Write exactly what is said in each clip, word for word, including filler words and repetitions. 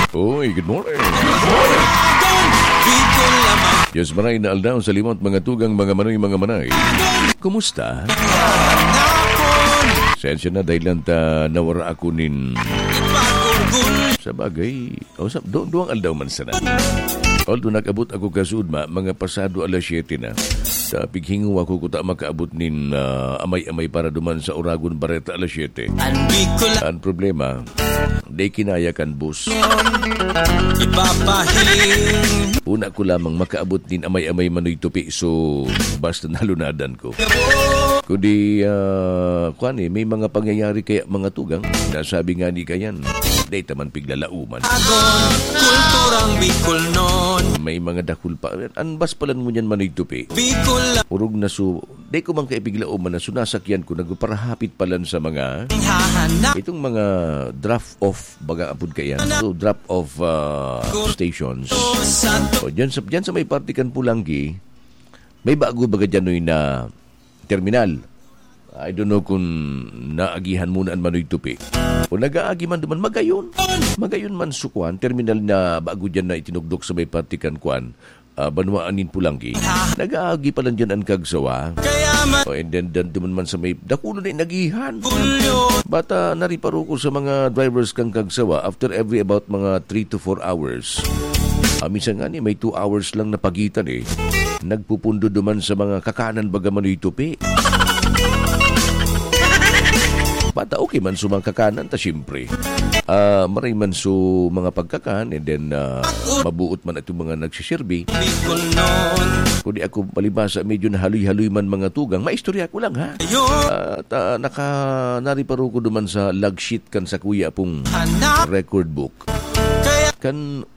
Uy, good morning. Diyos maray na aldaw sa limot, mga tugang, mga manoy, mga manay. Kumusta? Sensya na dahil lang ta nawara ako nin... Sa bagay, o sa, do, duwang aldaw man sana. Although nag-abot ako kasud ma, mga pasado alas siyete na. Sa pighingo ako kuta makaabot nin, ah, amay-amay para duman sa Oragon Bareta alas siyete. Ang problema, di kinaya kan bus. Ipapahin. Una ko lamang makaabot nin amay-amay manoy tupi, so basta nalunadan ko. Kundi, ah, kwan eh, may mga pangyayari kaya mga tugang, nasabi nga ni kayan, di taman piglalauman. Agon, kulturang Bicol nun. May mga dakul pa. An bas palan mo niyan manoy tupi. Bicol. Urog na su, di ko man kaipiglaom man na sunasakyan ko, nagparahapit palan sa mga, hahanap. Itong mga drop off, baga apod kaya. So, drop off, ah, stations. O, dyan sa, dyan sa may parte kan Pulanggi, may bago baga dyan, Noy, na terminal. I don't know kung naagihan mo na an manoy tupi. O nag-aagi man duman, magayon. Magayon man su kwan, terminal na bago dyan na itinugdok sa may parte kan kwan, ah, banwaan nin Pulanggi. Nag-aagi pa lang dyan an kagsawa. O, and then, dan duman man sa may dakulo na inagihan. Bata, nariparo ko sa mga drivers kan kagsawa, after every about mga three to four hours. Ah, minsan nga ni, may two hours lang na pagitan eh. Nagpupundo duman sa mga kakanan baga manoy tupi. Bata, okay man su mga kakanan, ta siyempre. Ah, maray man su mga pagkakan, and then, ah, mabuot man itong mga nagsisirbi. Kundi ako, palibasa, medyo nahaloy-haloy man mga tugang. Maistorya ko lang, ha? Ah, ta, naka, nariparo ko duman sa log sheet kan sakuya pong record book. Kan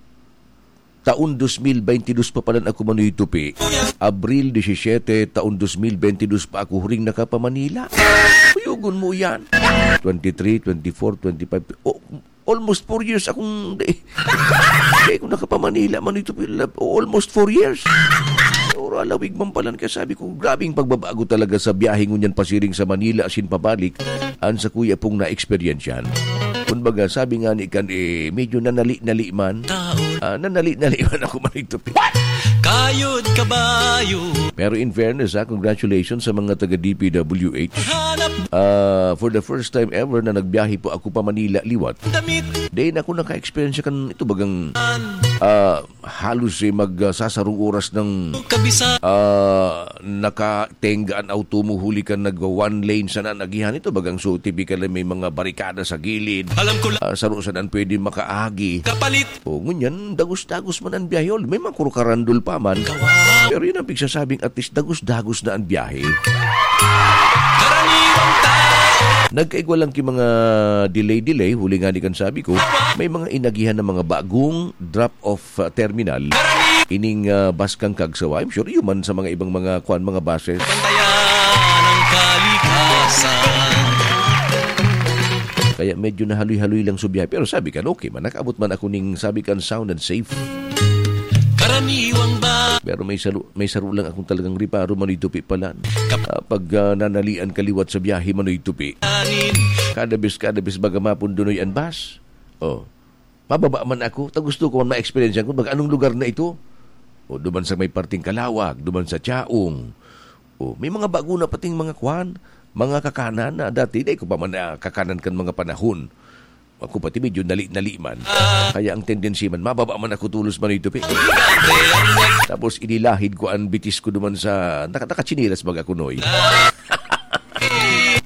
taon dos mil beinte dos pa palan ako manoy tupi. Abril disisiyete, taon dos mil beinte dos pa ako huring nakapamanila. Kuyogon mo yan. Twenty-three, twenty-four, twenty-five. Oh, almost four years akong di, di ako nakapamanila manoy tupi. Almost four years. Pero alawig man palan, kaya sabi ko, grabing pagbabago talaga sa biyahe ngunyan pasiring sa Manila asin pabalik. An sakuya pong naeksperyensyahan. Kumbaga, sabi nga ni kan, eh, medyo nanali-nali man. Ah, nanali-nali man ako manoy tupi. Kayod kabayo. Pero in fairness, ah, congratulations sa mga taga D P W H. Hanap. Ah, for the first time ever na nagbiyahe po ako pa Manila liwat. Damit. Di na ako naka-experience kan ito bagang, ah, halos, eh, mag, ah, sasarong oras ng, kabisa. Ah, nakatenga an auto mo huli ka nag one lane sana an agihan ito. Bagang so typical na may mga barikada sa gilid. Alam ko lang. Ah, saro sana an pwede makaagi. Kapalit. O, ngunyan, dagos-dagos man an biyahe. May mga kurukarandol pa man. Kawa. Pero yun ang pigsasabing at least dagos-dagos na an biyahe. Karaniwang tao. Nagkaigwa lang ki mga delay-delay. Huli nga ni kan sabi ko, may mga inagihan na mga bagong drop-off, ah, terminal. Ining, ah, bus kan kagsawa, I'm sure, iyo man sa mga ibang mga kwan, mga buses. Bantayan ang kalikasan. Kaya medyo nahaloy-haloy lang su biyahe. Pero sabi kan, okay man, nakaabot man ako ning, sabi kan, sound and safe. Karaniwang ba? Pero may saro, may saro lang akong talagang riparo, manoy tupi palan. Kap- Ah, pag, ah, nanalian ka liwat sa biyahe, manoy tupi. Anin. Kada bes, kada bes, baga mapundunoy an bus. Oh. Mababa man ako, ta gusto ko man ma-experience ko, baga anong lugar na ito? O, duman sa may parting Kalawag, duman sa Chaong. O, may mga bago na pating mga kwan, mga kakanan na dati, di ko pa man nakakanan kan mga panahon. Ako pati medyo nali-nali man. Kaya ang tendency man, mababa man ako tulos manoy tupi. Tapos inilahid ko ang bitis ko duman sa, naka-, nakatsinilas baga kunoy.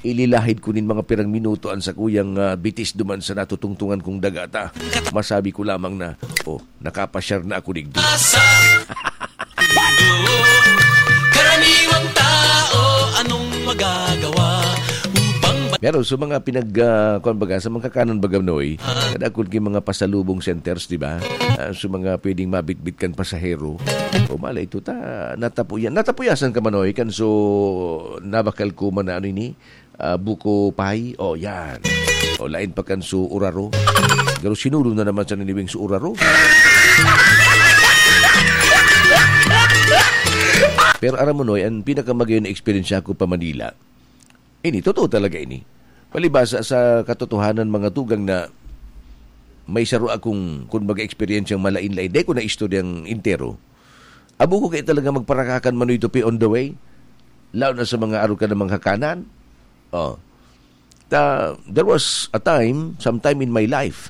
Ililahid ko nin mga pirang minuto an sakuyang, ah, bitis duman sa natutungtungan kong daga ta. Masabi ko lamang na, "Oh, nakapasyar na ako digdi." Karaniwang tao, anong magagawa? Upang ba- Pero sa mga pinag, ah, kwan baga, sa mga kakanan baga, Noy, Ah. kadakul ki mga pasalubong centers, di ba? Ah, sa mga pwedeng mabitbit kan pasahero. O malay ito ta, natapuyan. Natapuyasan ka, Manoy, kan so nabakal ko man na ano ini, ah, buko pie. O, yan. O, lain pa kan su uraro. Pero sinulo na naman sa niniwing su uraro. Pero aram mo, Noy, ang pinakamagayon na eksperyensya ko pa Manila, ini, totoo talaga ini. Palibasa sa katotohanan, mga tugang, na may saro akong, kumbaga, eksperyensyang malain-lain. Dai ko na istoryang entero. Abo ko kaya talaga magparakakan, Manoy Tupi, on the way. Lalo na sa mga aro ka namang hakanan. Oh. Ta, there was a time, sometime in my life,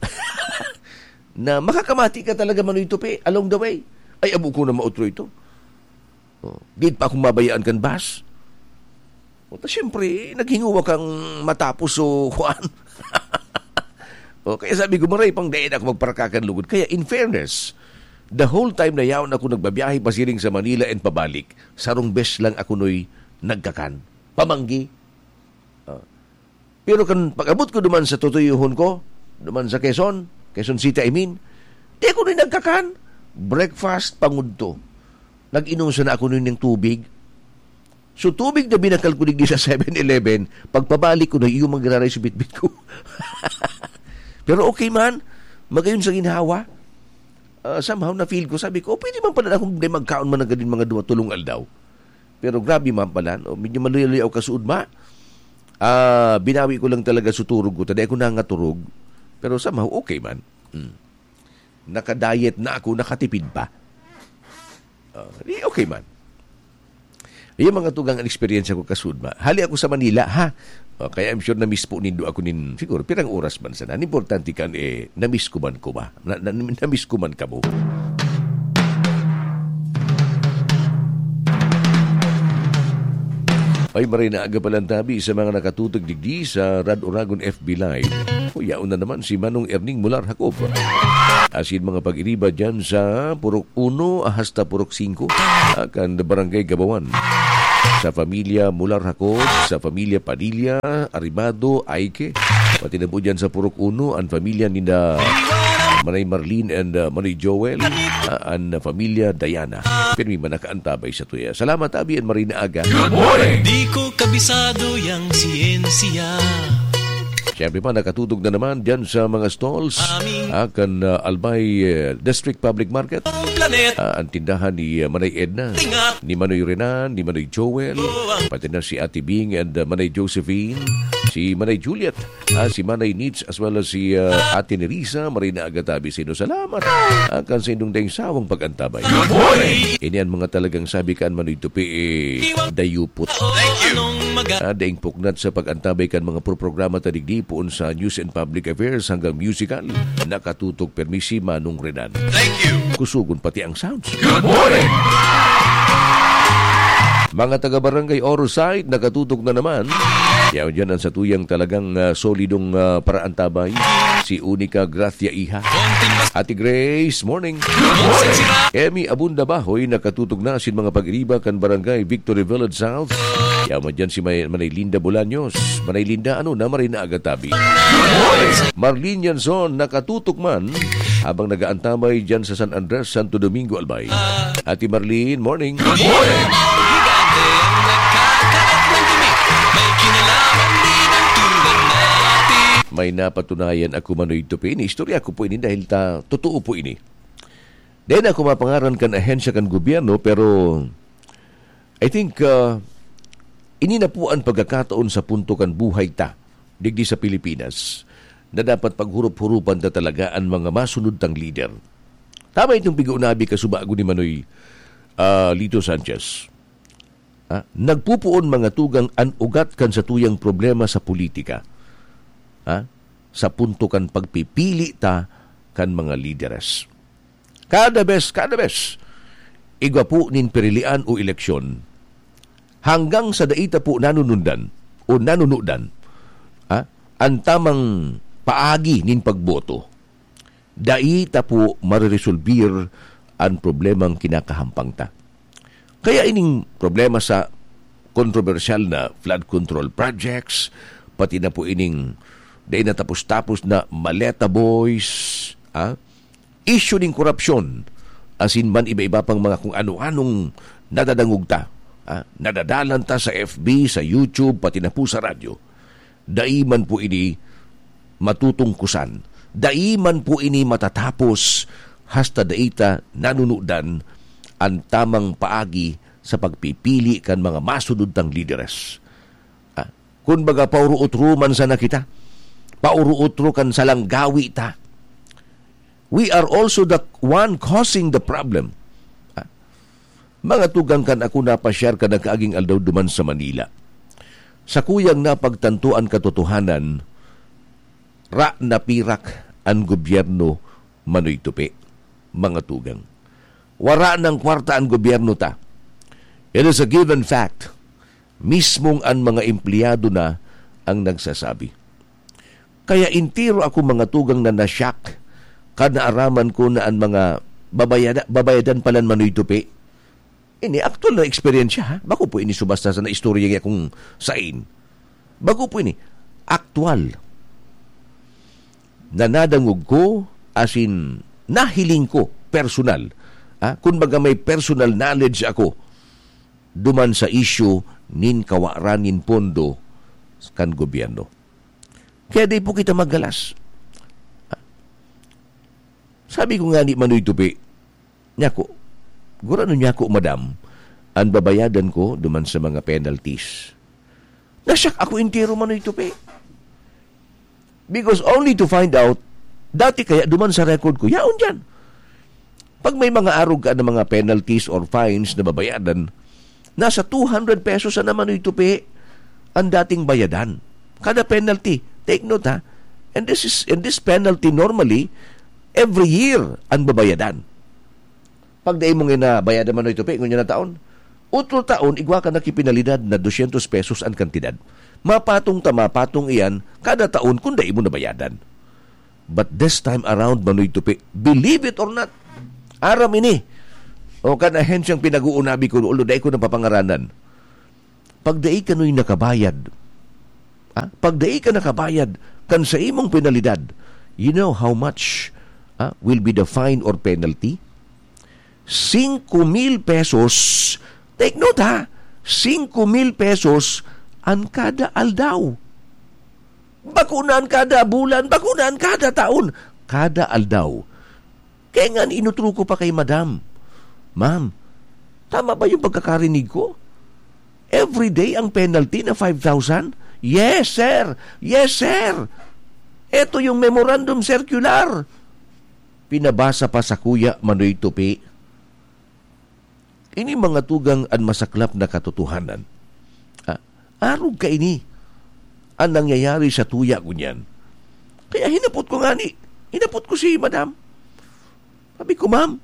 na makakamati ka talaga, Manoy Tupi, along the way. Ay, abo ko na mautro ito. Oh, di pa akong mabayaan kan bus. O, ta, siyempre, naghinguwa kang matapos, so, kuwan. O, kaya sabi ko, "Maray pang dai na ako magparakakan lugod." Kaya, in fairness, the whole time na yaon ako nagbabiyahe pasiring sa Manila and pabalik, sarong bes lang ako noy nagkakan. Pamanggi. Ah. Pero kan pag-abot ko duman sa tutuyohon ko, duman sa Quezon, Quezon City, I mean, di ako noy nagkakan. Breakfast, pangudto. Nag-inom sana ako noy ning tubig. So, tubig na binakal ko digdi sa Seven Eleven, pagpabalik ko na, iyo man giraray sa bitbit ko. Pero okay man, magayon sa ginhawa. Ah, somehow, na-feel ko, sabi ko, "Oh, pwede man pala akong di magkaon man na ganin mga duwa, tulong aldaw." Pero grabe man pala, no? Medyo maluya-luya ako kasuodma. Ah, binawi ko lang talaga sa turog ko. Taday ako nangaturog. Pero somehow, okay man. Hmm. Naka-diet na ako, nakatipid pa. Ah, di okay man. Yung mga tugang an eksperyensya ko kasuodma. Hali ako sa Manila, ha? Oh, kaya I'm sure na-miss po nindo ako nin, siguro, pirang oras man sana. An importante kan, eh, na-miss ko man ko ba? Na, na, na-miss ko man kamo. Ay, maray na aga palang tabi sa mga nakatutok digdi sa Rad Oragon F B Live. Kuyaon na naman si Manong Erning Mular Jacob. Asin mga pag-iriba dyan sa Purok Uno hasta Purok Singko, ah, kan Barangay Gabawan. Sa pamilya Mular Jacob, sa pamilya Padilla, Aribado, Aike, pati na po dyan sa Purok Uno, an pamilya nina Manay Marlene and, ah, Manay Joel, ah, an pamilya Diana. Pirmi man nakaantabay sa tuya. Salamat, abi, an maray na aga. Good morning! Di ko kabisado yang siyensya. Siyempre pa, nakatutok na naman dyan sa mga stalls, ah, kan, ah, Albay, eh, District Public Market. Ah, ang tindahan ni, ah, Manay Edna, ni Manoy Renan, ni Manoy Joel, pati na si Ate Bing and, ah, Manay Josephine, si Manay Juliet, ah, si Manay Nitz, as well as si, ah, Ate Nerissa. Maray na aga tabi sa inyo. Salamat, ah, kan sa inyong daing sawang pag-antabay. Good morning! Ini an mga talagang sabi kan Manoy Tupi, eh, dayupot. Thank you. Ah, daing puknat sa pag-antabay kan mga pro-programa ta digdi, poon sa News and Public Affairs hanggang musical. Nakatutok pirmi si Manong Renan. Thank you. Kusugon pati ang sounds. Good morning! Mga taga Barangay Oro Site, nakatutok na naman. Yaon dyan ang satuyang talagang, ah, solidong, ah, paraantabay. Si Unica Gracia Iha. Ate Grace, morning. Emmy Abunda Bahoy, nakatutok na sin mga pag-iriba kan Barangay Victory Village South. Yaman dyan si May-, Manay Linda Bolaños. Manay Linda, ano na, maray na aga tabi. Marlene Yanson, nakatutok man habang nag-aantabay dyan sa San Andres, Santo Domingo, Albay. Ate Marlene, morning. Good morning! May napatunayan ako, Manoy Tupi. Ini istorya ko po ini dahil ta, totoo po ini. Dai na ako mapangaran kan ahensya kan gobyerno, pero I think, ah, ini na po an pagkakataon sa punto kan buhay ta, digdi sa Pilipinas, na dapat paghurup-hurupan ta talaga an mga masunod tang lider. Tama itong pig-uunabi kasubago ni Manoy, ah, Lito Sanchez. Ah, nagpupuon mga tugang an ugat kan satuyang problema sa politika. Ah, sa punto kan pagpipili ta kan mga lideres. Kada bes, kada bes, igwa po nin pirilian o eleksyon, hanggang sa dai ta po nanunundan o nanunudan, ha, an tamang paagi nin pagboto, dai ta po mareresolbir an problemang kinakahampang ta. Kaya ining problema sa kontrobersyal na flood control projects, pati na po ining dai natapos-tapos na Maleta Boys, ah, isyu nin korapsyon, asin man iba-iba pang mga kung ano-anong nadadangog ta, ah, nadadalan ta sa F B, sa YouTube, pati na po sa radyo. Dai man po ini matutungkusan. Dai man po ini matatapos hasta dai ta nanunudan an tamang paagi sa pagpipili kan mga masunod tang lideres. Ah, kun baga, pauro-utro man sana kita. Pauro-utro kan salang gawi ta. We are also the one causing the problem. Ah, mga tugang, kan ako napasyar kan nakaaging aldaw duman sa Manila, sakuyang napagtanto an katotohanan, ra napirak an gobyerno, Manoy Tupi, mga tugang. Wara nang kwarta an gobyerno ta. It is a given fact. Mismong an mga empleyado na ang nagsasabi. Kaya entero ako, mga tugang, na na-shock kan naaraman ko na an mga babayada-, babayadan palan, Manoy Tupi. Ini aktual na eksperyensya, ha? Bako po ini subasta sa naistorya niya kung sain. Bako po ini. Aktual. Na nadangog ko, as in, nahiling ko, personal. Ha? Kumbaga, may personal knowledge ako duman sa isyu nin kawaran nin pondo kan gobyerno. Kaya di po kita magalas. Sabi ko nga ni Manoy Tupi, "Nyako, gurano nyako, madam, an babayadan ko duman sa mga penalties?" Nasyak ako entero, Manoy Tupi. Because only to find out, dati kaya duman sa record ko, yaon dyan. Pag may mga arog ka na mga penalties or fines na babayadan, nasa two hundred pesos na, Manoy Tupi, ang dating bayadan. Kada penalty, take note ha, and this is, and this penalty normally, every year ang babayadan. Pag dai mo nga nabayadan, Manoy Tupi, ngunyan na taon, utro taon, igwa ka na ki penalidad na dosyentos pesos ang kantidad. Mapatong ta mapatong iyan kada taon kung dai mo nabayadan. But this time around, Manoy Tupi, believe it or not, aram ini. O kan ahensyang pinag-uunabi ko, although dai ko napapangaranan. Pag dai kanoy nakabayad, ah, pag dai ka nakabayad kan sa imong penalidad, you know how much, ah, will be the fine or penalty? Singko mil pesos. Take note, ha? Singko mil pesos an kada aldaw. Bako na an kada bulan, bako na an kada taon, kada aldaw. Kaya nga, inutro ko pa kay madam, "Ma'am, tama ba yung pagkakarinig ko? Every day ang penalty na five thousand?" "Yes, sir! Yes, sir! Eto yung memorandum circular." Pinabasa pa sakuya, Manoy Tupi. Ini mga tugang an masaklap na katotohanan. Ah, arog kaini an nangyayari sa tuya ngunyan. Kaya hinapot ko ngani, hinapot ko si madam. Sabi ko, "Ma'am,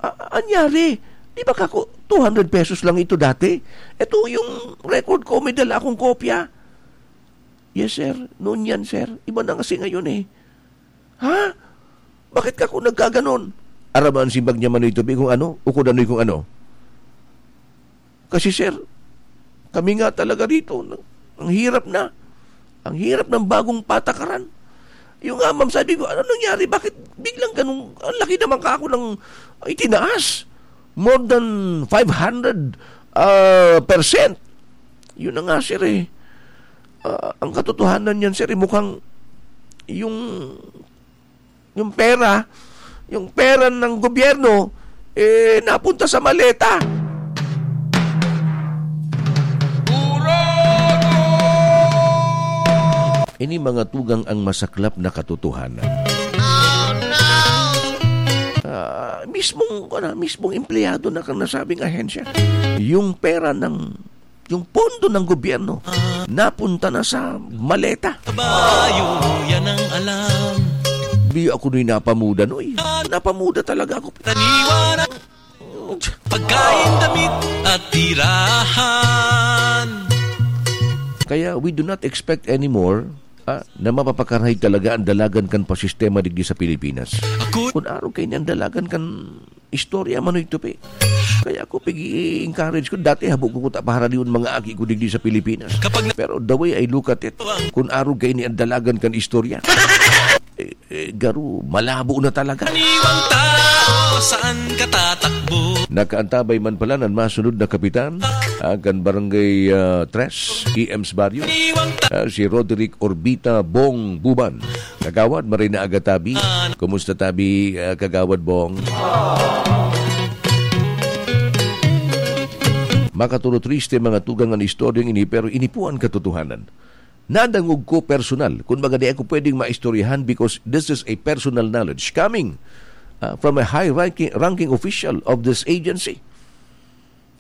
a-, anyari? Di ba kako two hundred pesos lang ito dati? Ito yung record ko, may dala akong kopya." "Yes, sir. Noon yan, sir. Iba na kasi ngayon eh." "Ha? Bakit kako nagkaganon?" Aram mo an simbag niya, Manoy Tupi, kung ano, o kung ano'y kung ano. "Kasi, sir, kami nga talaga rito, na-, ang hirap na. Ang hirap ng bagong patakaran." Yung nga, ma'am, sabi ko, "Ano nangyari? Bakit biglang ganun? Ang laki naman kako ng itinaas. More than five hundred, ah, percent." Yun na nga, sir, eh. Ah, ang katotohanan niyan, sir, eh, mukhang yung, yung pera, yung pera ng gobyerno, eh, napunta sa maleta. Ini mga tugang ang masaklap na katotohanan. Ah, mismong, ano, mismong empleyado na kan nasabing ahensya. Yung pera ng, yung pondo ng gobyerno, napunta na sa maleta. Kabayo, yan ang alam. Di ako na'y napamuda, noy. Napamuda talaga ako. Taniwan, pagkain, damit at tirahan. Kaya we do not expect anymore, ah, na mapapakarahay talaga ang dalagan kan pasistema digdi sa Pilipinas. Ako. Kun arog kaini an dalagan kan istorya, Manoy Tupi. Kaya ako pig-i-encourage ko. Dati habo ko kuta paharalion mga aki ko digdi sa Pilipinas. Kapag na- Pero the way I look at it, kun arog kaini an dalagan kan istorya, eh, eh, garo, malabo na talaga. Aniwang tao, saan ka tatakbo? Nakaantabay man pala nan masunod na kapitan, ah, kan Barangay, ah, Tres, E M's Barrio, Aniwang ta- ah, si Roderick Orbita Bong Buban. Kagawad, maray na aga, tabi. Kumusta, tabi, ah, Kagawad Bong? Makatulo triste mga tugang an istoryang ini, pero ini po an katotohanan. Nadangog ko personal. Kung baga, di ako pwedeng maistoryahan because this is a personal knowledge coming, ah, from a high ranking, ranking official of this agency.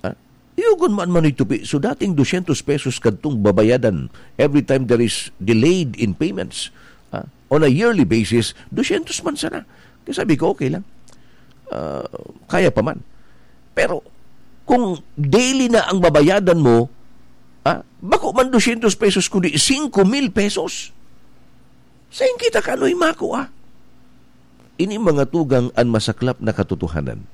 Ah, yugon man, Manoy Tupi. So, dating dosyentos pesos kadtong babayadan every time there is delayed in payments. Ah, on a yearly basis, dosyentos man sana. Kaya sabi ko, "Okay lang. Ah, kaya pa man." Pero, kung daily na ang babayadan mo, ah, bako man dosyentos pesos, kundi singko mil pesos. Sain kita kanoy makua? Ini mga tugang an masaklap na katotohanan.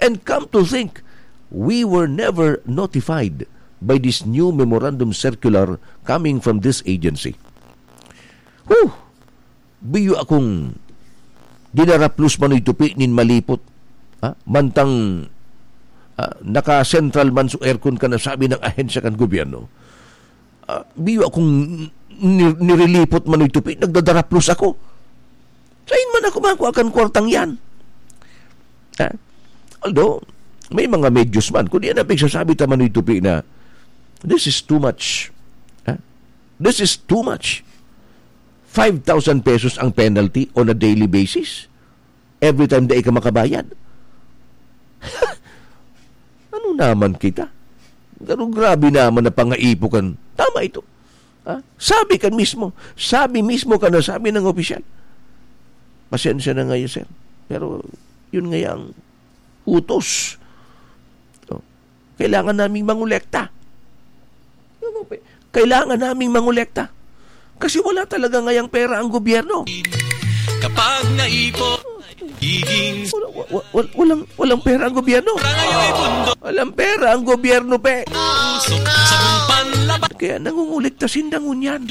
And come to think, we were never notified by this new memorandum circular coming from this agency. Whew! Biyo akong dinaraplos, Manoy Tupi, nin malipot. Ha? Mantang, ah, naka-central man sa aircon ka na, sabi ng ahensya kan gobyerno. Ah, biyo akong ni-, nirelipot, Manoy Tupi, nagdadaraplos ako. Sain man ako makua kan kwartang yan? Ha? Although, may mga medyos man. Kundi yan ang pigsasabi ta, Manoy Tupi, na this is too much. Ha? This is too much. Five thousand pesos ang penalty on a daily basis. Every time dai ka makabayad. Ano naman kita? Pero grabe naman na pangaipo kan. Tama ito. Ha? Sabi kan mismo. Sabi mismo ka na, sabi ng opisyal. Pasensya na ngayon, sir. Pero yun nga ang utos. So, kailangan naming mangolekta. Kailangan naming mangolekta. Kasi wala talaga ngayang pera ang gobyerno. Kapag naipon, giging Wala, wa-, wa-, wal-, walang, walang pera ang gobyerno. Walang pera ang gobyerno, pe. Usok sa panlaba. Kaya nangungulekta sinda ngunyan.